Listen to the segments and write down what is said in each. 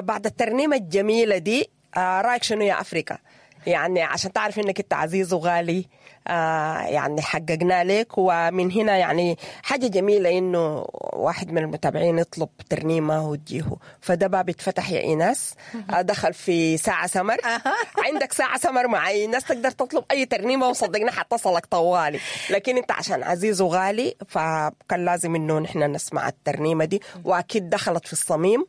بعد الترنيمة الجميلة دي، رايك شنو يا أفريكا؟ يعني عشان تعرف انك انت عزيز وغالي، يعني حققنا لك. ومن هنا يعني حاجة جميلة انه واحد من المتابعين يطلب ترنيمة وتجيه، فده باب اتفتح يا ايناس. دخل في ساعة سمر. عندك ساعة سمر مع ايناس، تقدر تطلب اي ترنيمة وصدقنا حتصلك طوالي، لكن انت عشان عزيز وغالي فكان لازم انه نحن نسمع الترنيمة دي، واكيد دخلت في الصميم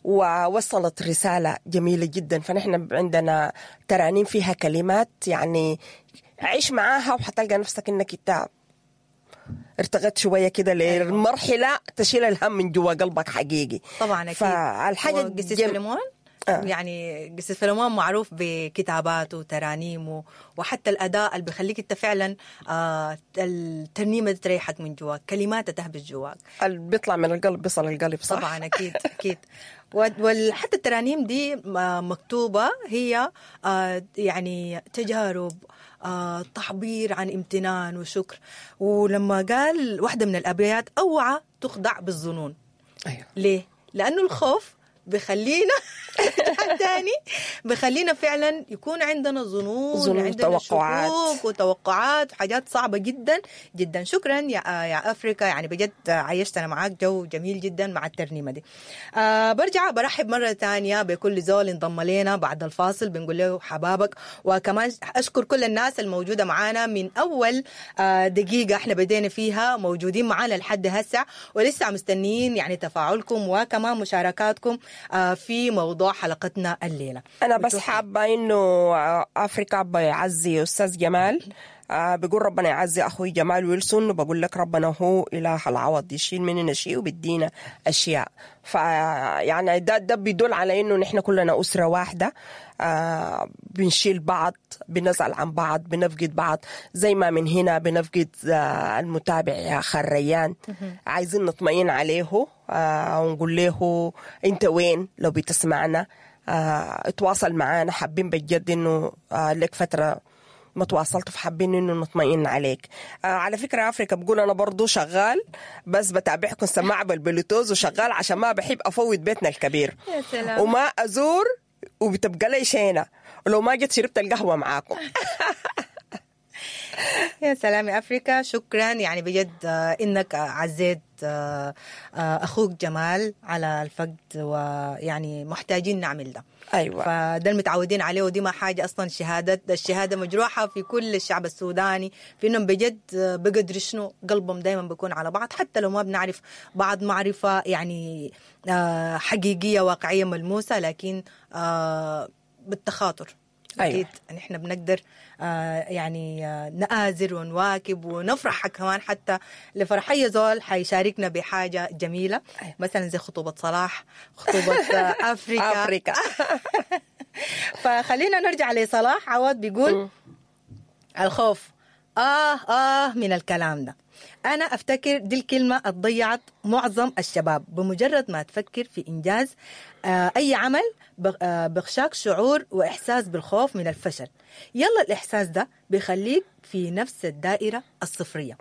ووصلت رسالة جميلة جدا. فنحن عندنا ترانيم فيها كلمات يعني عيش معاها وحتلقى نفسك انك انت ارتقيت شوية كده للمرحلة تشيل الهم من جوا قلبك حقيقي. طبعا اكيد. فالحاجة قسيس فيلمون، يعني قسيس فيلمون معروف بكتاباته وترانيمه وحتى الاداء اللي بيخليك انت فعلا الترنيمة تريحك من جواك، كلماتها تهبش جواك، اللي بيطلع من القلب بيصل القلب، صح؟ طبعا اكيد اكيد. وحتى الترانيم دي مكتوبة هي يعني تجارب، تعبير عن امتنان وشكر. ولما قال واحدة من الأبيات أوعى تخدع بالظنون. أيوة. ليه؟ لأنه الخوف بخلينا تاني، بخلينا فعلا يكون عندنا ظنون، عندنا وتوقعات، شكوك وتوقعات، حاجات صعبة جدا جدا. شكرا يا أفريكا، يعني بجد عيشتنا معاك جو جميل جدا مع الترنيمة دي. برجع برحب مرة تانية بكل زول انضم لنا بعد الفاصل، بنقول له حبابك. وكمان أشكر كل الناس الموجودة معانا من أول دقيقة احنا بدينا فيها، موجودين معانا لحد هسه ولسه مستنيين يعني تفاعلكم وكمان مشاركاتكم في موضوع حلقتنا الليلة. أنا بس حابة إنه أفريكا بيعزي أستاذ جمال، بيقول ربنا يعزي أخوي جمال ويلسون، وبقول لك ربنا هو إله العوض، يشيل مننا شيء وبيدينا أشياء. فيعني ده بيدل على إنه نحن كلنا أسرة واحدة، بنشيل بعض، بنزعل عن بعض، بنفقد بعض، زي ما من هنا بنفقد المتابع يا خريان، عايزين نطمئن عليه ونقول له أنت وين لو بتسمعنا، اتواصل معانا، حابين بجد إنه لك فترة ما تواصلت، فحابين انه نطمئن عليك. على فكرة افريكا بقول انا برضو شغال، بس بتابعكم سماعه بالبلوتوز وشغال عشان ما بحب افوت بيتنا الكبير. يا سلام. وما ازور وبتبقى لي شينه ولو ما جيت شربت القهوة معاكم. يا سلام يا افريكا، شكرا يعني بجد انك عزيت اخوك جمال على الفقد، ويعني محتاجين نعمل ده. ايوه، فده المتعودين عليه، ودي ما حاجة اصلا. الشهادة مجروحة في كل الشعب السوداني، في انهم بجد بقدر شنو قلبهم دايما بيكون على بعض، حتى لو ما بنعرف بعض معرفة يعني حقيقية واقعية ملموسة، لكن بالتخاطر. أيوة. أكيد نحن بنقدر يعني نآزر ونواكب ونفرح كمان، حتى لفرحية زول حيشاركنا بحاجة جميلة. أيوة. مثلا زي خطوبة صلاح، خطوبة أفريكا. أفريكا. فخلينا نرجع لصلاح عوض، بيقول الخوف من الكلام ده. أنا أفتكر دي الكلمة ضيعت معظم الشباب، بمجرد ما تفكر في إنجاز أي عمل بخشاك شعور وإحساس بالخوف من الفشل. يلا الإحساس ده بيخليك في نفس الدائرة الصفرية.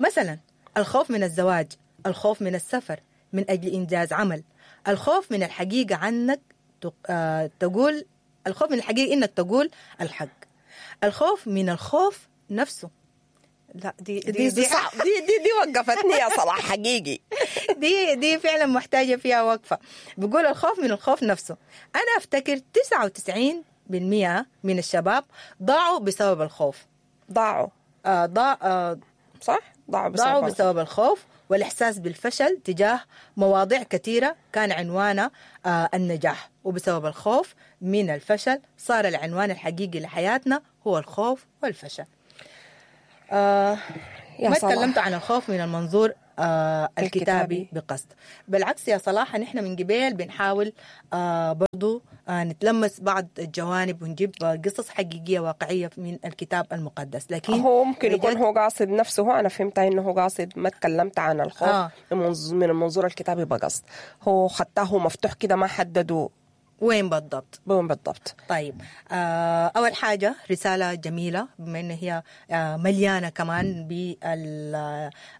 مثلا الخوف من الزواج، الخوف من السفر من أجل إنجاز عمل، الخوف من الحقيقة عنك تقول، الخوف من الحقيقة إنك تقول الحق، الخوف من الخوف نفسه. لا دي دي دي, دي, صح. دي وقفتني يا صلاح حقيقي. دي فعلا محتاجة فيها وقفة. بقول الخوف من الخوف نفسه. أنا أفتكر 99% من الشباب ضاعوا بسبب الخوف. ضاعوا صح؟ ضاعوا بسبب الخوف والإحساس بالفشل تجاه مواضيع كثيرة كان عنوانها النجاح، وبسبب الخوف من الفشل صار العنوان الحقيقي لحياتنا هو الخوف والفشل. ما تكلمت عن الخوف من المنظور الكتابي بقصد. بالعكس يا صلاح، نحن من قبل بنحاول برضو نتلمس بعض الجوانب ونجيب قصص حقيقية واقعية من الكتاب المقدس، لكن هو ممكن يكون هو قاصد نفسه. أنا فهمت إنه هو قاصد ما تكلمت عن الخوف من المنظور الكتابي بقصد، هو خطاه مفتوح كده ما حددوا وين بالضبط. وين بالضبط. طيب أول حاجة رسالة جميلة، بما أن هي مليانة كمان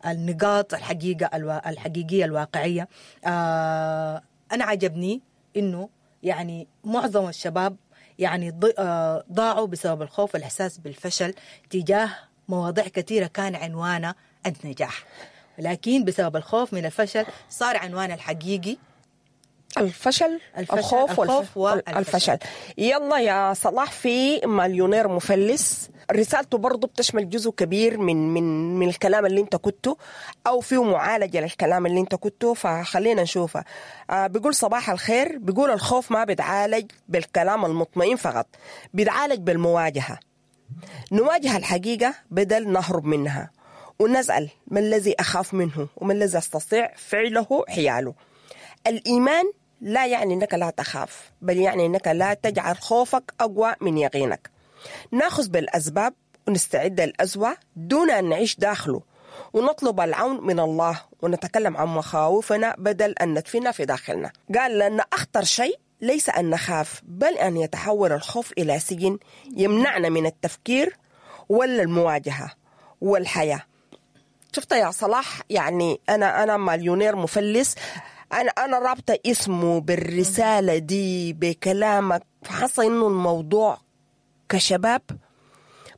بالنقاط الحقيقة الحقيقية الواقعية. أنا عجبني انه يعني معظم الشباب يعني ضاعوا بسبب الخوف والإحساس بالفشل تجاه مواضيع كثيرة كان عنوانها النجاح، لكن بسبب الخوف من الفشل صار عنوان الحقيقي الفشل، الخوف والفشل. يلا يا صلاح، في مليونير مفلس رسالته برضو بتشمل جزء كبير من من من الكلام اللي انت كنته، او فيه معالجة للكلام اللي انت كنته، فخلينا نشوفها. بيقول صباح الخير، بيقول الخوف ما بيتعالج بالكلام المطمئن فقط، بيتعالج بالمواجهة. نواجه الحقيقة بدل نهرب منها، ونسأل ما الذي أخاف منه وما الذي أستطيع فعله حياله. الإيمان لا يعني أنك لا تخاف، بل يعني أنك لا تجعل خوفك أقوى من يقينك. ناخذ بالأسباب ونستعد للأسوأ دون أن نعيش داخله، ونطلب العون من الله، ونتكلم عن مخاوفنا بدل أن ندفنها في داخلنا. قال لأن أخطر شيء ليس أن نخاف، بل أن يتحول الخوف إلى سجن يمنعنا من التفكير ولا المواجهة والحياة. شفت يا صلاح، يعني أنا مليونير مفلس، أنا رابطة اسمه بالرسالة دي بكلامك، فحاسة إنه الموضوع كشباب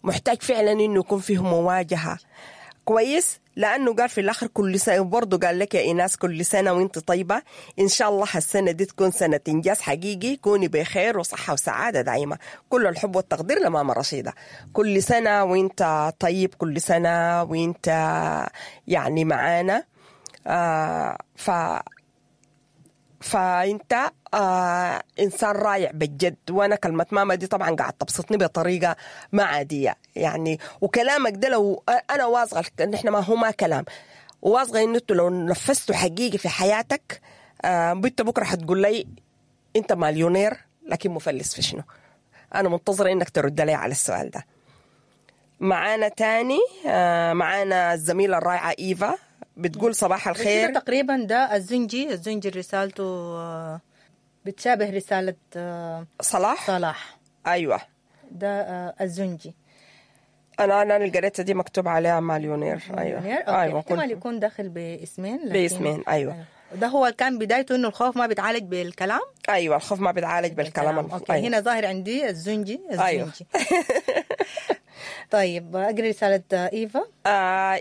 محتاج فعلا إنه يكون فيه مواجهة. كويس، لأنه قال في الآخر كل سنة، برضه قال لك يا إيناس كل سنة وانت طيبة، إن شاء الله السنة دي تكون سنة إنجاز حقيقي، كوني بخير وصحة وسعادة دائمة. كل الحب والتقدير لماما رشيدة. كل سنة وانت طيب، كل سنة وانت يعني معانا. فانت انسان رائع بجد. وانا كلمة ماما دي طبعا قاعد تبسطني بطريقة ما عادية يعني، وكلامك ده لو انا واثقة ان احنا ما هو ما كلام، واثقة ان انتوا لو نفذتوا حقيقي في حياتك، بنت بكره حتقول لي انت مليونير لكن مفلس في شنو؟ انا منتظره انك ترد لي على السؤال ده. معانا تاني، معانا الزميلة الرائعة ايفا بتقول صباح الخير. تقريبا ده الزنجي رسالته بتشابه رسالة صلاح. أيوة ده الزنجي. أنا القريتة دي مكتوب عليها مليونير. أيوة. أيوة، احتمال يكون داخل باسمين. باسمين أيوة. ده هو كان بدايته إنه الخوف ما بيتعالج بالكلام. أيوة، الخوف ما بيتعالج بالكلام. okay. أيوة. هنا ظاهر عندي الزنجي. أيوة. طيب أقرأ رسالة إيفا.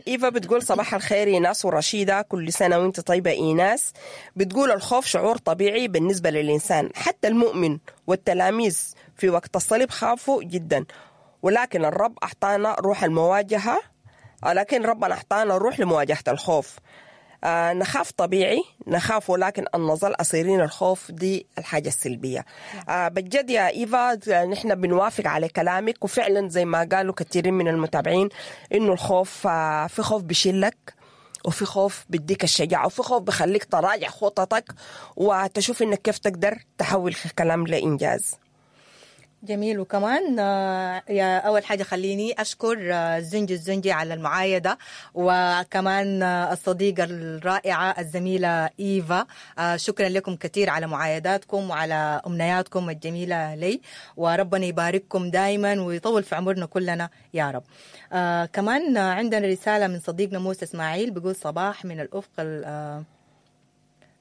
إيفا بتقول صباح الخير إيناس ورشيدة، كل سنة وانت طيبة إيناس. بتقول الخوف شعور طبيعي بالنسبة للإنسان، حتى المؤمن والتلاميذ في وقت الصليب خافوا جدا، ولكن الرب أعطانا روح المواجهة، لكن ربنا أعطانا روح لمواجهة الخوف. نخاف طبيعي، نخاف، ولكن أن نظل أسيرين الخوف دي الحاجة السلبية. بجد يا إيفا نحن بنوافق على كلامك، وفعلا زي ما قالوا كثيرين من المتابعين إنه الخوف، في خوف بيشيلك، وفي خوف بديك الشجاعة، وفي خوف بخليك تراجع خططك وتشوف إنك كيف تقدر تحول الكلام لإنجاز. جميل. وكمان يا أول حاجة خليني أشكر الزنجي على المعايدة، وكمان الصديقة الرائعة الزميلة إيفا، شكرا لكم كثير على معايداتكم وعلى أمنياتكم الجميلة لي، وربنا يبارككم دائما ويطول في عمرنا كلنا يا رب. كمان عندنا رسالة من صديقنا موسى إسماعيل بيقول صباح من الأفق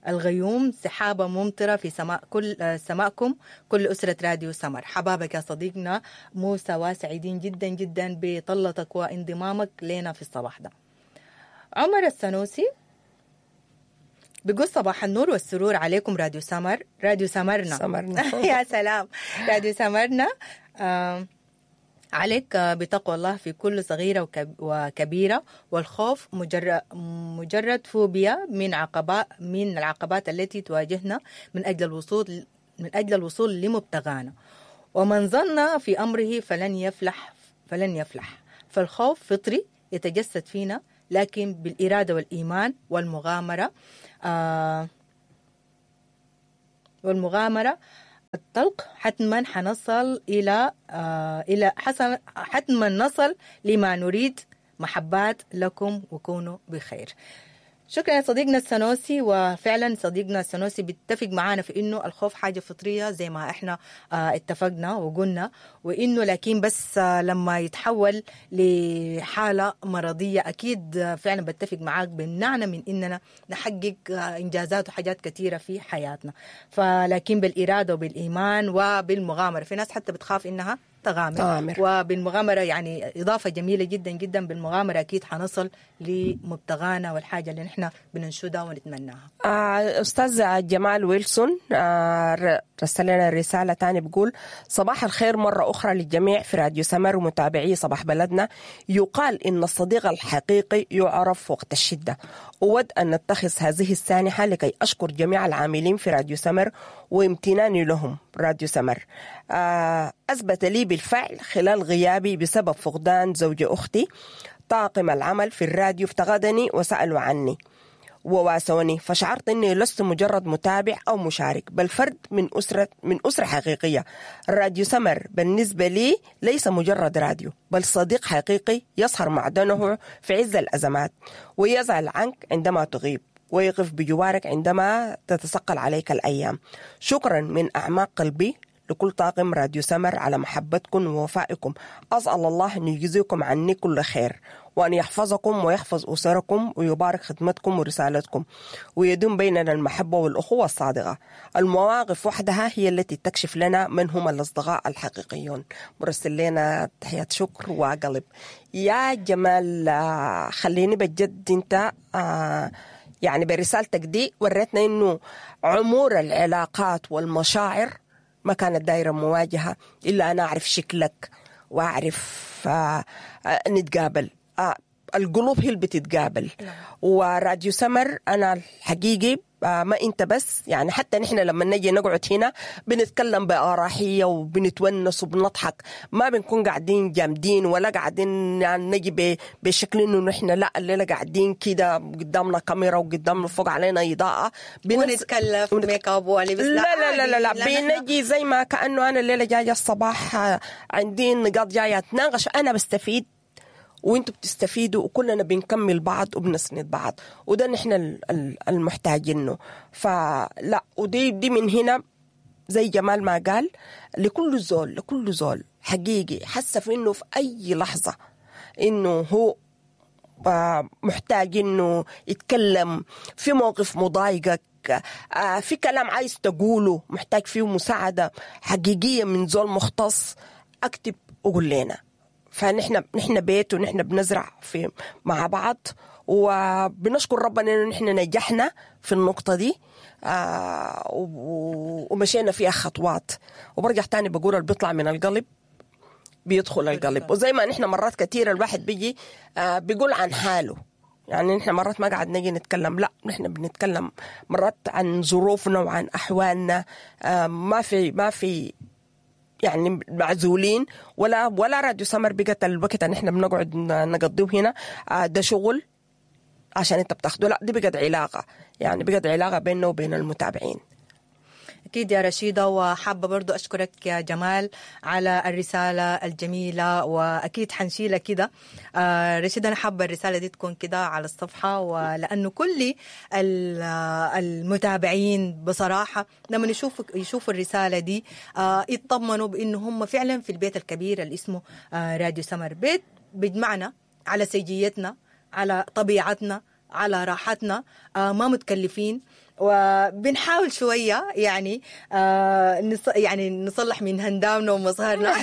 الغيوم، سحابة ممطرة في سماء كل سماءكم كل أسرة راديو سمر. حبابك يا صديقنا موسى، وسعيدين جدا جدا بطلتك وانضمامك لنا في الصباح ده. عمر السنوسي بيقول صباح النور والسرور عليكم راديو سمر، راديو سمرنا. يا سلام، راديو سمرنا. عليك بتقوى الله في كل صغيرة وكبيرة، والخوف مجرد فوبيا من العقبات التي تواجهنا من أجل الوصول لمبتغانا، ومن ظن في أمره فلن يفلح. فالخوف فطري يتجسد فينا، لكن بالإرادة والإيمان والمغامرة الطلق حتما حنصل إلى حتما نصل لما نريد. محبات لكم وكونوا بخير. شكرا يا صديقنا السنوسي. وفعلا صديقنا السنوسي بيتفق معانا في انه الخوف حاجة فطرية زي ما احنا اتفقنا وقلنا، وانه لكن بس لما يتحول لحاله مرضية اكيد فعلا بتفق معاك بمنعنا من اننا نحقق انجازات وحاجات كثيرة في حياتنا. فلكن بالارادة وبالايمان وبالمغامره، في ناس حتى بتخاف انها تغامر، وبالمغامرة يعني إضافة جميلة جدا جدا، بالمغامرة أكيد حنصل لمبتغانا والحاجة اللي نحن بننشدها ونتمناها. أستاذ جمال ويلسون رسل لنا رسالة تاني بيقول صباح الخير مرة أخرى للجميع في راديو سمر ومتابعي صباح بلدنا. يقال إن الصديق الحقيقي يعرف وقت الشدة. أود أن نتخذ هذه السانحة لكي أشكر جميع العاملين في راديو سمر وامتناني لهم. راديو سمر أثبت لي بالفعل خلال غيابي بسبب فقدان زوج أختي طاقم العمل في الراديو افتقدني وسألوا عني وواسوني، فشعرت أني لست مجرد متابع أو مشارك بل فرد من أسرة حقيقية. راديو سمر بالنسبة لي ليس مجرد راديو بل صديق حقيقي يسهر معدنه في عز الأزمات ويزعل عنك عندما تغيب ويقف بجوارك عندما تتثقل عليك الأيام. شكرا من أعماق قلبي لكل طاقم راديو سمر على محبتكم ووفائكم. أسأل الله أن يجزيكم عني كل خير وأن يحفظكم ويحفظ أسركم ويبارك خدمتكم ورسالتكم ويدوم بيننا المحبة والأخوة الصادقة. المواقف وحدها هي التي تكشف لنا من هم الأصدقاء الحقيقيون. مرسل لنا تحية شكر وقلب. يا جمال، خليني بجد انت يعني برسالتك دي وريتنا إنه عمور العلاقات والمشاعر ما كانت دايرة مواجهة إلا أنا أعرف شكلك وأعرف نتقابل. القلوب هي اللي بتتقابل. وراديو سمر أنا الحقيقي ما أنت بس، يعني حتى نحن لما نجي نقعد هنا بنتكلم بأراحية وبنتونس وبنضحك، ما بنكون قاعدين جامدين ولا قاعدين يعني نجي بشكل إنه نحن لا الليلة قاعدين كده قدامنا كاميرا وقدامنا فوق علينا إضاءة ونتكلف ميك اب ولبس. لا لا لا لا, لا. بنجي زي ما كأنه أنا الليلة جاية الصباح عندي نقاط جاية أتناقش، أنا بستفيد وانتوا بتستفيدوا وكلنا بنكمل بعض وبنسند بعض، وده نحن المحتاجينه. فلا ودي دي من هنا زي جمال ما قال لكل زول، لكل زول حقيقي حس في انه في اي لحظة انه هو محتاج انه يتكلم في موقف مضايقك، في كلام عايز تقوله محتاج فيه مساعدة حقيقية من زول مختص، اكتب وقول لنا. فنحن نحن بيت ونحن بنزرع في مع بعض، وبنشكر ربنا انه نحن نجحنا في النقطة دي ومشينا فيها خطوات. وبرجع تاني بقول اللي بيطلع من القلب بيدخل القلب. وزي ما نحن مرات كثيرة الواحد بيجي بيقول عن حاله، يعني نحن مرات ما قاعد نجي نتكلم، لا نحن بنتكلم مرات عن ظروفنا وعن أحوالنا، ما في يعني معزولين ولا راديو سمر بقت الوقت ان احنا بنقعد نقضيه هنا ده شغل عشان انت بتاخده، لا دي بقت علاقة، يعني بقت علاقة بيننا وبين المتابعين. أكيد يا رشيدة، وحابة برضو أشكرك يا جمال على الرسالة الجميلة، وأكيد حنشيلها كده. رشيدة أنا حابة الرسالة دي تكون كده على الصفحة، ولأنه كل المتابعين بصراحة لما يشوفوا الرسالة دي يطمنوا بأنه هم فعلا في البيت الكبير اللي اسمه راديو سمر، بيت بيجمعنا على سجيتنا، على طبيعتنا، على راحتنا، ما متكلفين، وبنحاول شوية يعني يعني نصلح من هندامنا ومظهرنا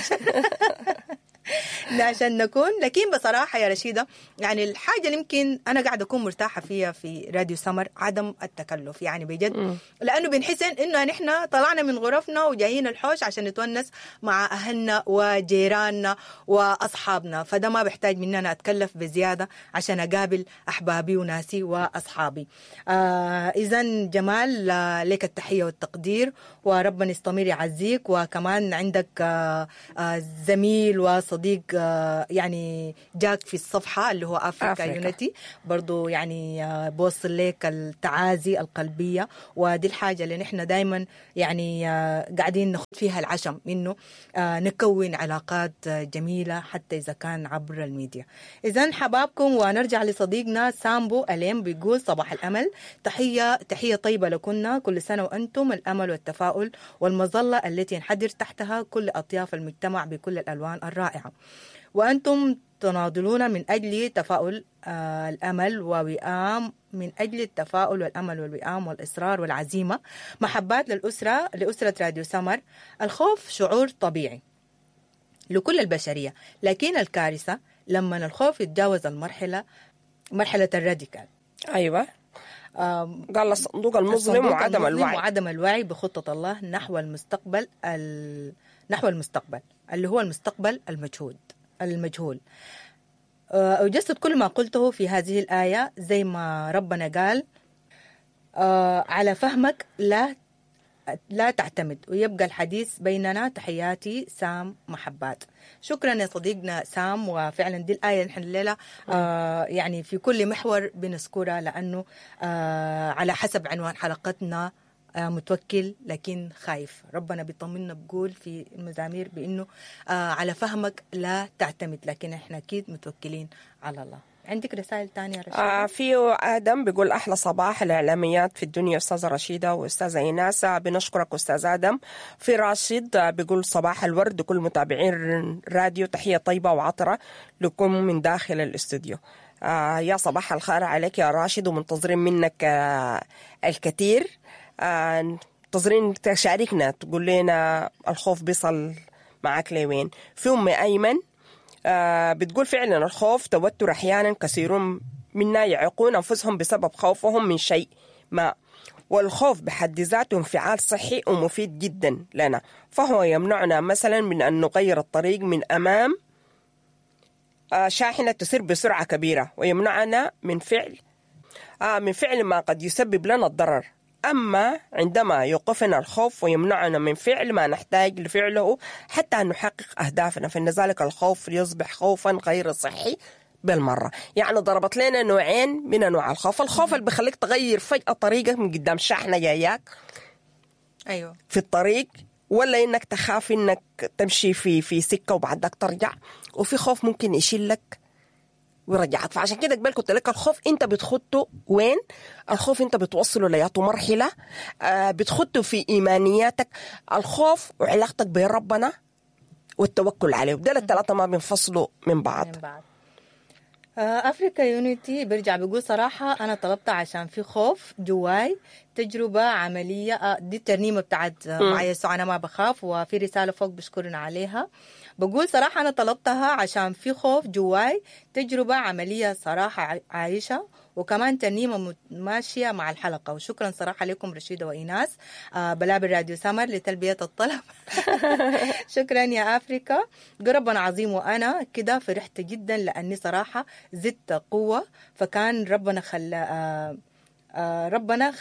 عشان نكون. لكن بصراحة يا رشيدة يعني الحاجة اللي يمكن أنا قاعدة أكون مرتاحة فيها في راديو سمر عدم التكلف، يعني بجد، لأنه بنحس إنه نحن طلعنا من غرفنا وجايين الحوش عشان نتونس مع أهلنا وجيراننا وأصحابنا، فده ما بحتاج مننا أتكلف بزيادة عشان أقابل أحبابي وناسي وأصحابي. إذن جمال لك التحية والتقدير، وربنا يستمر يعزيك، وكمان عندك زميل وصديق صديق يعني جاك في الصفحة اللي هو Africa Unity، برضو يعني بوصل لك التعازي القلبية. ودي الحاجة اللي نحن دايما يعني قاعدين نخد فيها العشم، إنه نكون علاقات جميلة حتى إذا كان عبر الميديا. إذن حبابكم. ونرجع لصديقنا سامبو أليم بيقول صباح الأمل، تحية طيبة لكنا، كل سنة وأنتم الأمل والتفاؤل والمظلة التي ينحدر تحتها كل أطياف المجتمع بكل الألوان الرائعة، وأنتم تناضلون من أجل تفاؤل الأمل ووئام، من أجل التفاؤل والأمل والوئام والإصرار والعزيمة. محبات لأسرة راديو سمر. الخوف شعور طبيعي لكل البشرية، لكن الكارثة لما الخوف يتجاوز المرحلة، مرحلة الراديكال. أيوة، قال الصندوق المظلم وعدم الوعي، وعدم الوعي بخطة الله نحو المستقبل، نحو المستقبل اللي هو المستقبل المجهول. أجسد كل ما قلته في هذه الآية زي ما ربنا قال على فهمك لا تعتمد، ويبقى الحديث بيننا. تحياتي سام محبات. شكرا يا صديقنا سام، وفعلا دي الآية نحن الليلة يعني في كل محور بنذكرها، لأنه على حسب عنوان حلقتنا متوكل لكن خايف. ربنا بيطمنا بقول في المزامير بأنه على فهمك لا تعتمد، لكن احنا أكيد متوكلين على الله. عندك رسائل تانية رشيدة؟ في آدم بيقول أحلى صباح الإعلاميات في الدنيا أستاذة رشيدة وأستاذة إيناس، بنشكرك أستاذ آدم. في راشد بيقول صباح الورد كل متابعين راديو، تحية طيبة وعطرة لكم من داخل الاستوديو. يا صباح الخير عليك يا راشد، ومنتظرين منك الكثير، منتظرين تشاركنا تقول لنا الخوف بيصل معك لوين. في أم أيمن بتقول فعلا الخوف توتر، أحيانا كثيرون منا يعيقون أنفسهم بسبب خوفهم من شيء ما، والخوف بحد ذاته انفعال صحي ومفيد جدا لنا، فهو يمنعنا مثلا من أن نغير الطريق من أمام شاحنة تسير بسرعة كبيرة، ويمنعنا من فعل ما قد يسبب لنا الضرر. أما عندما يوقفنا الخوف ويمنعنا من فعل ما نحتاج لفعله حتى نحقق أهدافنا، فإن ذلك الخوف يصبح خوفا غير صحي بالمرة. يعني ضربت لنا نوعين من أنواع الخوف، الخوف اللي بيخليك تغير فجأة طريقك من قدام شاحنة جاياك، أيوة، في الطريق، ولا إنك تخاف إنك تمشي في سكة وبعدك ترجع، وفي خوف ممكن يشيلك ويرجعك. فعشان كده قبل كنت لك الخوف انت بتخطه وين؟ الخوف انت بتوصله لياته مرحلة، بتخطه في ايمانياتك، الخوف وعلاقتك بربنا والتوكل عليه، وده الثلاثة ما بينفصلوا من بعض. Africa Unity برجع بيقول صراحة أنا طلبتها عشان في خوف جواي، تجربة عملية. دي الترنيمة بتاعت مع يسوع أنا ما بخاف، وفي رسالة فوق بشكرنا عليها. بقول صراحة أنا طلبتها عشان في خوف جواي، تجربة عملية صراحة عايشة، وكمان ترنيمة ماشية مع الحلقة. وشكرا صراحة لكم رشيدة وإيناس بلابل راديو سمر لتلبية الطلب. شكرا يا أفريكا، ربنا عظيم. وأنا كده فرحت جدا لأني صراحة زدت قوة، فكان ربنا ربنا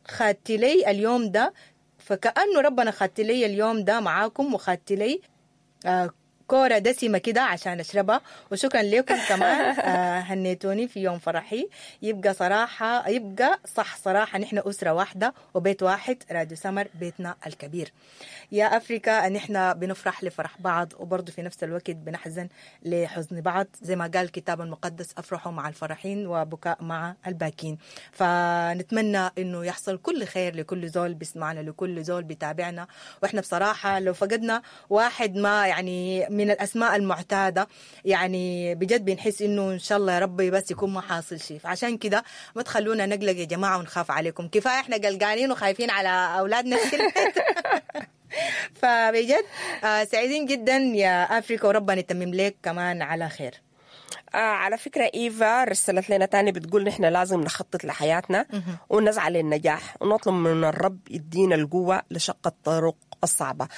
خدت لي اليوم ده، فكأنه ربنا خدت لي اليوم ده معاكم، وخدت لي كورة دسمة كده عشان أشربها. وشكرا لكم كمان هنيتوني في يوم فرحي. يبقى صراحة، يبقى صح صراحة نحن أسرة واحدة وبيت واحد، راديو سمر بيتنا الكبير. يا أفريكا نحن بنفرح لفرح بعض، وبرضه في نفس الوقت بنحزن لحزن بعض، زي ما قال الكتاب المقدس أفرحوا مع الفرحين وبكاء مع الباكين. فنتمنى إنه يحصل كل خير لكل زول بيسمعنا، لكل زول بيتابعنا. وإحنا بصراحة لو فقدنا واحد ما يعني من الأسماء المعتادة، يعني بجد بنحس إنه إن شاء الله يا ربي بس يكون ما حاصل شيء. فعشان كده ما تخلونا نقلق يا جماعة ونخاف عليكم، كفاية إحنا قلقانين وخايفين على أولادنا. فبجد سعيدين جدا يا أفريقيا، وربنا يتمم لك كمان على خير. على فكرة إيفا رسلت لنا تاني بتقول نحن لازم نخطط لحياتنا ونسعى للنجاح ونطلب من الرب يدينا القوة لشق الطرق الصعبة.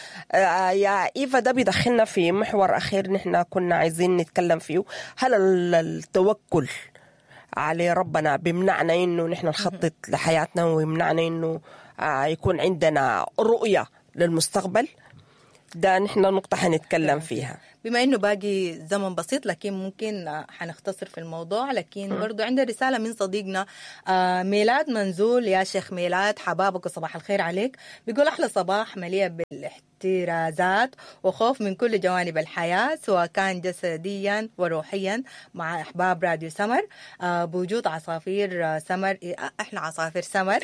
يا إيفا ده بيدخلنا في محور أخير نحن كنا عايزين نتكلم فيه، هل التوكل على ربنا بيمنعنا إنه نحن نخطط لحياتنا ويمنعنا إنه يكون عندنا رؤية للمستقبل؟ ده نحن نقطة حنتكلم فيها. بما انه باقي زمن بسيط لكن ممكن حنختصر في الموضوع، لكن برضو عندنا رسالة من صديقنا ميلاد منزول. يا شيخ ميلاد حبابك وصباح الخير عليك. بيقول احلى صباح مليء بالاحترازات وخوف من كل جوانب الحياة سواء كان جسديا وروحيا مع احباب راديو سمر، بوجود عصافير سمر، احنا عصافير سمر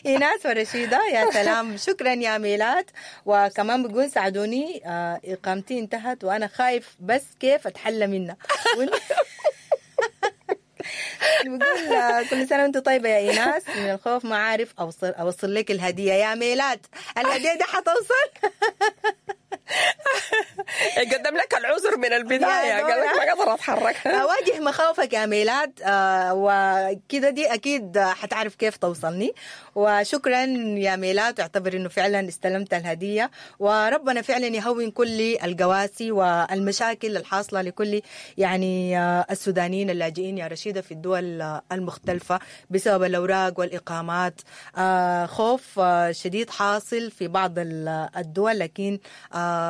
ايناس ورشيده. يا سلام، شكرا يا ميلاد. وكمان بيقول ساعدوني، اقامتي انتهت وانا خايف بس كيف اتحلى منها. بقول كل سنة وانت طيبة يا ايناس، من الخوف ما عارف اوصل لك الهدية يا ميلاد. الهدية دي حتوصل. قدم لك العذر من البداية، قال لك ما قدر اتحرك. واجه مخاوفك يا ميلاد، وكده دي اكيد حتعرف كيف توصلني. وشكرا يا ميلاد، اعتبر انه فعلا استلمت الهدية، وربنا فعلا يهون كل القواسي والمشاكل الحاصلة لكل يعني السودانيين اللاجئين يا رشيده في الدول المختلفة بسبب الاوراق والاقامات. خوف شديد حاصل في بعض الدول، لكن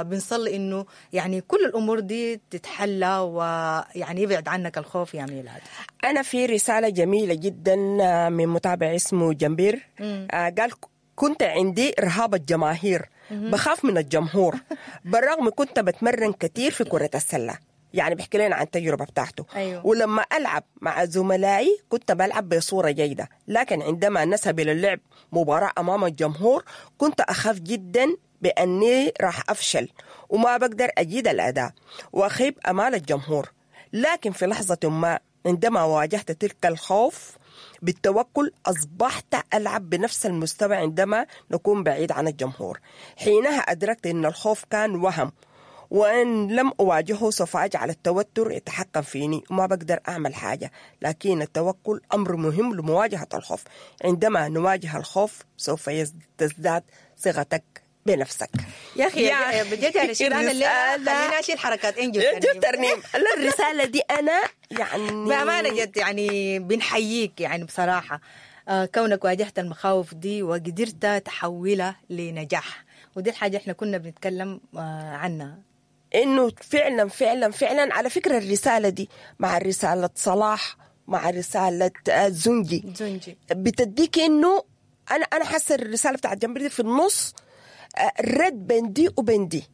بنصلي انه يعني كل الامور دي تتحلى ويعني يبعد عنك الخوف يا ميلاد. انا في رسالة جميلة جدا من متابع اسمه جنبير، قال كنت عندي رهاب الجماهير، بخاف من الجمهور بالرغم كنت بتمرن كثير في كره السلة. يعني بيحكي لنا عن التجربة بتاعته. أيوه. ولما ألعب مع زملائي كنت بلعب بصورة جيدة، لكن عندما نذهب إلى اللعب مباراة أمام الجمهور كنت أخاف جدا بأني راح أفشل وما بقدر أجيد الأداء وأخيب أمال الجمهور. لكن في لحظة ما عندما واجهت تلك الخوف بالتوكل أصبحت ألعب بنفس المستوى عندما نكون بعيد عن الجمهور. حينها أدركت أن الخوف كان وهم، وإن لم أواجهه سوف أجعل التوتر يتحكم فيني وما بقدر أعمل حاجة. لكن التوكل أمر مهم لمواجهة الخوف. عندما نواجه الخوف سوف تزداد ثقتك بنفسك. يا أخي يا بجد يا رشيد، أنا الليلة خليني أشيل حركات إنجل ترنيم. لا الرسالة دي أنا يعني بأمانة جد يعني بنحييك، يعني بصراحة كونك واجهت المخاوف دي وقدرت تحولها لنجاح، ودي الحاجة احنا كنا بنتكلم عنها، انه فعلا فعلا فعلا. على فكرة الرسالة دي مع رسالة صلاح مع رسالة زنجي بتديك انه انا حاسة الرسالة بتاعت جنبي دي في النص رد بين دي وبين دي.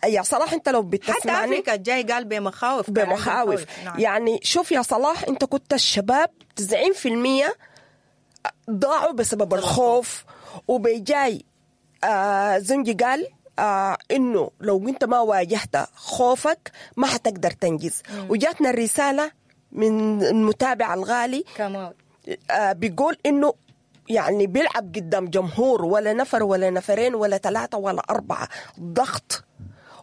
يا صلاح انت لو بتسمعني، حتى افريكا الجاي قال بمخاوف بمخاوف. نعم. يعني شوف يا صلاح، انت كنت الشباب 90% ضاعوا بسبب الخوف، وبيجاي زنجي قال انه لو انت ما واجهت خوفك ما حتقدر تنجز. وجاتنا الرسالة من المتابع الغالي كمان بيقول انه يعني بيلعب قدام جمهور ولا نفر ولا نفرين ولا ثلاثة ولا أربعة، ضغط،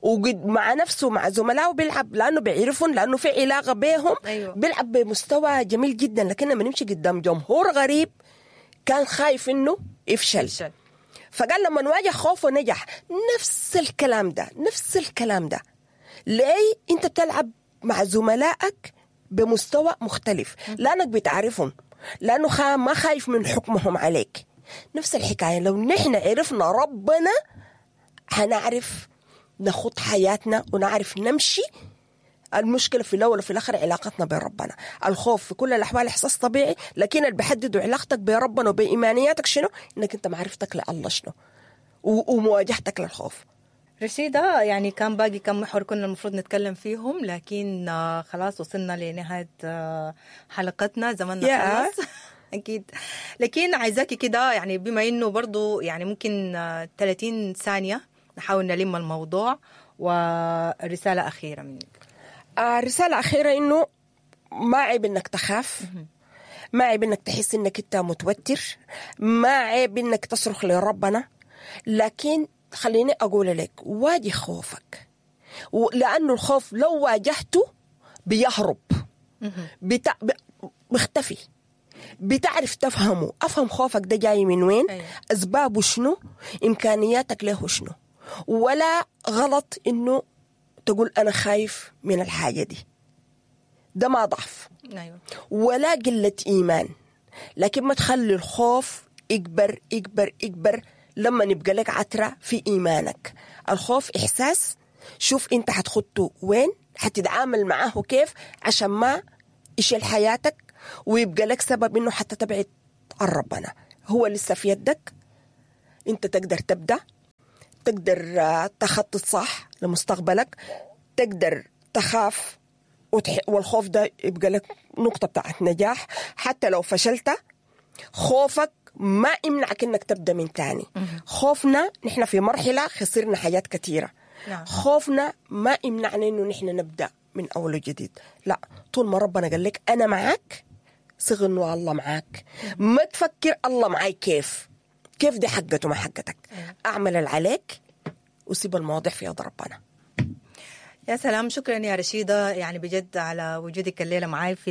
وقد مع نفسه مع زملائه بيلعب لأنه بيعرفون، لأنه في علاقة بيهم. أيوة. بيلعب بمستوى جميل جدا، لكن لما نمشي قدام جمهور غريب كان خايف إنه يفشل. فقال لما نواجه خوفه نجح. نفس الكلام ده، نفس الكلام ده. ليه انت بتلعب مع زملائك بمستوى مختلف؟ لانك بتعرفهم، لانه ما خايف من حكمهم عليك. نفس الحكاية لو نحن عرفنا ربنا هنعرف نخوض حياتنا ونعرف نمشي. المشكلة في الأول وفي الآخر علاقتنا بربنا. الخوف في كل الأحوال إحساس طبيعي، لكن اللي بيحددوا علاقتك بربنا وبإيمانياتك شنو؟ إنك أنت معرفتك لله شنو ومواجهتك للخوف. رشيدة يعني كان باقي كم محور كنا المفروض نتكلم فيهم، لكن خلاص وصلنا لنهاية حلقتنا، زماننا خلاص أكيد. لكن عايزاكي كده يعني بما إنه برضو يعني ممكن 30 ثانية نحاول نلم الموضوع، ورسالة أخيرة منك. رسالة أخيرة إنه ما عيب إنك تخاف، ما عيب إنك تحس إنك أنت متوتر، ما عيب إنك تصرخ لربنا، لكن خليني أقول لك واجه خوفك، لأنه الخوف لو واجهته بيهرب، بيختفي، بتعرف تفهمه. أفهم خوفك ده جاي من وين، أسبابه شنو، إمكانياتك له شنو. ولا غلط إنه تقول أنا خايف من الحاجة دي، ده ما ضعف. أيوة. ولا قلة إيمان، لكن ما تخلي الخوف يكبر يكبر يكبر لما نبقى لك عترة في إيمانك. الخوف إحساس، شوف انت حتخطه وين، حتتعامل معاه كيف عشان ما يشيل حياتك ويبقى لك سبب انه حتى تبعد عن ربنا. هو لسه في يدك، انت تقدر تبدا، تقدر تخطط صح لمستقبلك، تقدر تخاف والخوف ده يبقى لك نقطة بتاعت نجاح. حتى لو فشلت، خوفك ما يمنعك انك تبدا من تاني. خوفنا نحن في مرحلة خسرنا حاجات كثيرة. خوفنا ما يمنعنا انه نحن نبدا من اول وجديد. لا، طول ما ربنا قال لك انا معاك، صغ انه الله معاك. ما تفكر الله معاي كيف، كيف دي حقته ما حقتك. اعمل اللي عليك وسيب المواضيع في يد ربنا. يا سلام، شكرا يا رشيدة، يعني بجد على وجودك الليلة معاي في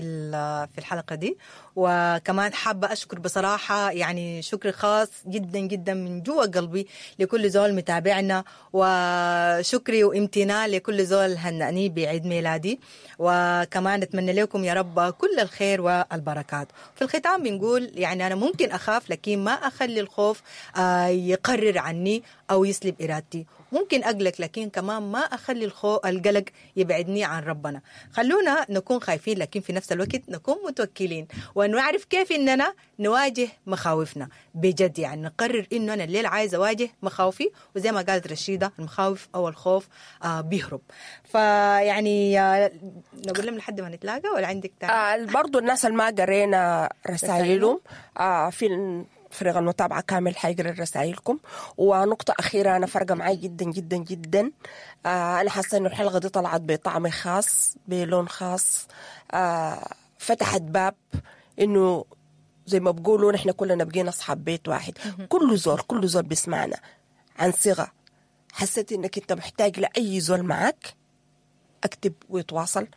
الحلقة دي. وكمان حابة أشكر بصراحة، يعني شكر خاص جدا جدا من جوا قلبي لكل زول متابعنا، وشكري وامتنان لكل زول هنأني بعيد ميلادي. وكمان أتمنى لكم يا رب كل الخير والبركات. في الختام بنقول يعني أنا ممكن أخاف، لكن ما أخلي الخوف يقرر عني أو يسلب إرادتي. ممكن أقلق، لكن كمان ما أخلي القلق يبعدني عن ربنا. خلونا نكون خايفين، لكن في نفس الوقت نكون متوكلين، ونعرف كيف إننا نواجه مخاوفنا بجد. يعني نقرر إنه أنا الليل عايز أواجه مخاوفي، وزي ما قالت رشيدة المخاوف أو الخوف بيهرب. فيعني نقول لهم لحد ما نتلاقى، ولا عندك تاني؟ برضو الناس اللي ما قرينا رسائلهم في فريق المتابعة كامل حيقرأ رسائلكم. ونقطة أخيرة أنا فرقة معي جدا جدا جدا، أنا حاسة إنه الحلقة دي طلعت بطعم خاص، بلون خاص، فتحت باب إنه زي ما بقولوا نحن كلنا بقينا أصحاب بيت واحد. كل زول بيسمعنا عن صيغة، حسيت إنك أنت محتاج لأي زول معك، أكتب ويتواصل.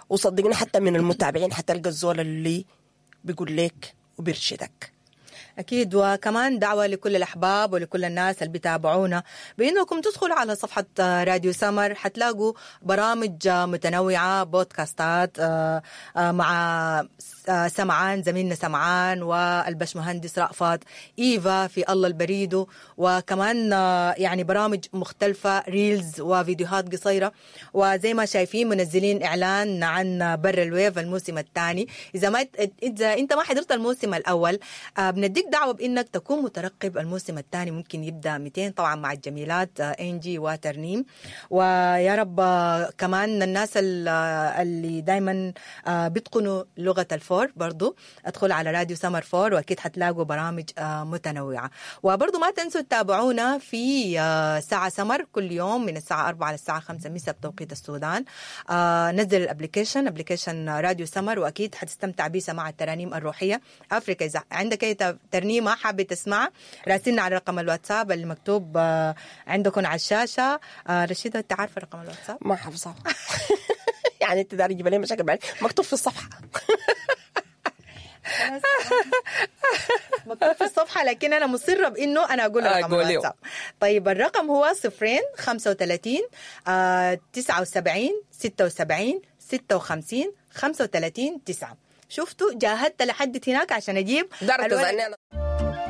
وصدقني حتى من المتابعين حتلقى الزول اللي بيقول لك وبيرشدك. أكيد. وكمان دعوة لكل الأحباب ولكل الناس اللي بيتابعونا بأنكم تدخلوا على صفحة راديو سمر، حتلاقوا برامج متنوعة، بودكاستات مع سمعان زميلنا سمعان والبشمهندس رأفت، إيفا في الله البريدو، وكمان يعني برامج مختلفة، reels وفيديوهات قصيرة. وزي ما شايفين منزلين إعلان عن بر الويف الموسم الثاني. إذا أنت ما حضرت الموسم الأول، بنديك دعوة بإنك تكون مترقب الموسم الثاني، ممكن يبدأ 200 طبعا مع الجميلات إنجي وترنيم. ويا رب كمان الناس اللي دايما بيتقنوا لغة الفور برضو ادخل على راديو سمر فور، وأكيد حتلاقوا برامج متنوعة. وبرضو ما تنسوا تتابعونا في ساعة سمر كل يوم من الساعة 4 للساعة 5 مساء بتوقيت السودان. نزل ال application راديو سمر، وأكيد حتستمتع بسماع الترانيم الروحية. أفريكا إذا عندك أي ترنيمة حابة تسمعها، راسلنا على رقم الواتساب اللي مكتوب عندكم على الشاشة. رشيدة أنت عارفة رقم الواتساب؟ ما حافظة. يعني أنت داري تجيب لي مشاكل بعد مكتوب في الصفحة. مكتوب في الصفحة، لكن أنا مصرة بإنه أنا أقول رقم الواتساب. طيب الرقم هو 0 35 79 76 56 35 9. شفتوا جاهدت لحد هناك عشان أجيب.